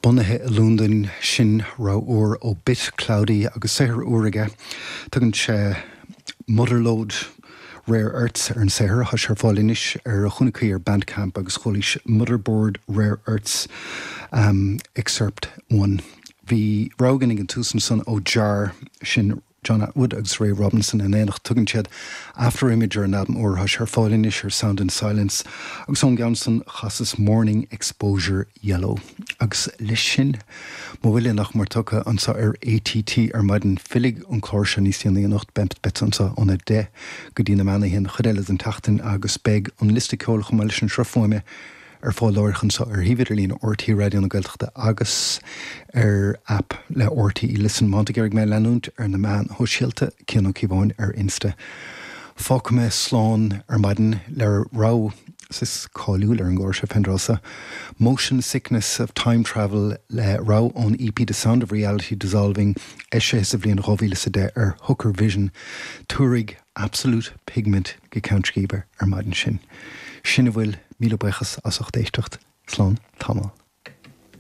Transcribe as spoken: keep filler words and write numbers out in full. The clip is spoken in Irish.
Bunaithe i Londain sin rogha úr ó Bit Cloudy agus saothar úr aige. Tugann sé Motherload Rare Earths ar an saothar tá sé ar fáil anois ar a chúnachaí ar Bandcamp agus chualaís Motherboard Rare Earths um, Excerpt one. Bhí rogha ag an tús ansan ó Jar sin John Atwood agus Ray Robinson in éineacht tugann siad After Image ar an albam úr tá sé ar fáil anois ar Sound and Silence agus ón gceann san chasas Morning Exposure Yellow. Agus leis sin mo bhuille nach mór tugtha anseo ar A T T ar maidin fillfidh an clár seo níos déanaí anocht beidh anseo óna deich go dtí na meánoíche an chuid eile den tseachtain agus beidh an liosta ceoil chomh maith leis an sruth fuaime ar fáil anseo ar shuíomh idirlín R T É Raidió na Gaeltachta agus ar app le R T É Listen má tá mé leanúint ar na meáin shóisialta Cian Ó Cíobháin ar Insta. Fágfaidh mé slán ar maidin le rogha is cáiliúil ar an gclár seo Pendrosa. Motion Sickness of Time Travel le rogha ón E P The Sound of Reality Dissolving eisithe sa bhliain dhá mhíle a deich ar Hooker Vision, tabharfaidh Absolute Pigment go ceann scríbe ar maidin sin. Sin a bhfuil míle buíochas as ucht éisteacht slán tamall.